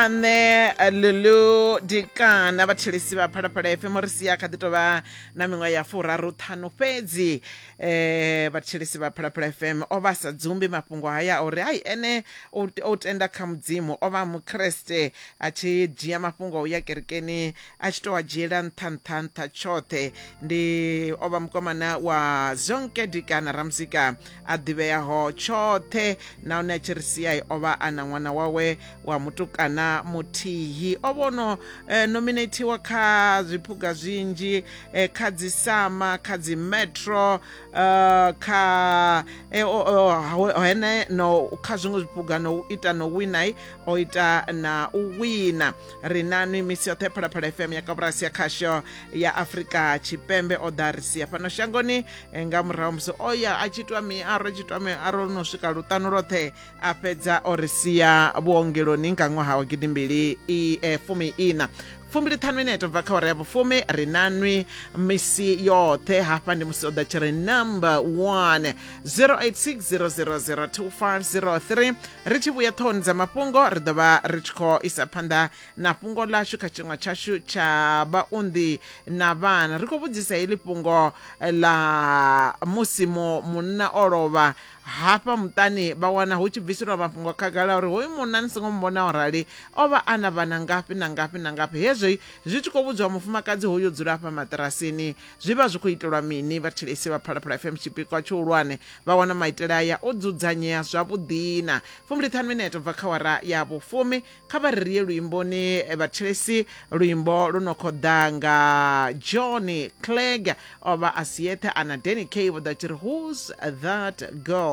Nga nṋe Lulu Dikana, vhathetshelesi vha Phalaphala FM, ri sia kha ḓi tovha na miṅwaha ya 35 fhedzi. Vhathetshelesi vha Phalaphala FM, o vha a sa dzumbi mafhungo haya a uri hai ene o tenda kha Mudzimu, o vha Mukriste, a tshi dzhia mafhungo a u ya kerekeni a tshi tou a dzhiela nṱha nṱha nṱha tshoṱhe. Ndi o vha mukomana wa Zonke Dikana, ramuzika a ḓivheaho tshoṱhe, nahone a tshi ri sia o vha a na ṅwana wawe wa mutukana muthihi. O vha ono nominatiwa kha zwiphuga zwinzhi, kha dzi Sama, kha dzi Metro, kha hene no kha zwiṅwe zwiphuga, no u ita no wina, o ita na u wina. Ri nanwi misi yoṱhe Phalaphala FM ya koporasi ya khasho ya Afrika Tshipembe. O ḓa ri sia fhano shangoni nga murahu musi o ya a tshi itwa miaro, a tshi itwa miaro no swika luṱanu lwoṱhe, a fhedza o ri sia vhuongeloni nga ṅwaha wa gidimbili fumi ina. 25 minete bva kha awara ya vhufumi. Ri nanwi misi yoṱhe hafha ndi musi o ḓa tshi ri number 1 0860002503. Ri tshi vhuya ṱhohoni dza mafhungo, ri ḓo vha ri tshi khou isa phanḓa na fhungo ḽashu kha tshiṅwe tshashu tsha vhaunḓi na vhana. Ri khou vhudzisa heḽi fhungo ḽa musi munna o lovha hafha muṱani, vha wana hu tshi bviselwa mafhungo khagala uri hoyu munna ni songo muvhona o rali, o vha a na vhana ngafhi na ngafhi na ngafhi. Hezwi zwi tshi khou vhudzwa mufumakadzi hoyu o dzula hafha maṱirasini, zwi vha zwi khou itelwa mini? Vhathetshelesi vha Phalaphala FM, tshipikwa tshihulwane vha wana maitele aya o dzudzanyea zwavhuḓi na 15 minete ubva kha wara ya vhufumi. Kha vha ri ri ye luimboni vhathetshelesi, luimbo lu no khou ḓa nga Johnny Clegg, o vha a si yeṱhe, a na Danny K, vho ḓa tshi ri who's that girl.